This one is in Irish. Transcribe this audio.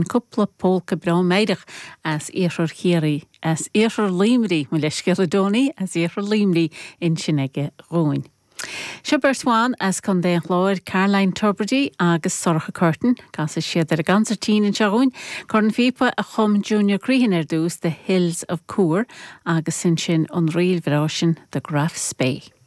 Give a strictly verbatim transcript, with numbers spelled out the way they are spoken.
Cúpla polca breá meidhreach as iarthar Chiarraí, as iarthar Luimnigh, mo leithscéal a Donie, as iarthar Luimnigh ansin aige dhúinn. Seo beirt bhan as Contae an Chláir, Caroline Tubridy agus Sorcha Curtin, casfaidh siad ar an gconsairtín anseo dhúinn, Cornphíopa a chum Junior Crehan ar dtús The Hills of Coor agus ansin an ríl bhreá sin The Graff Spey.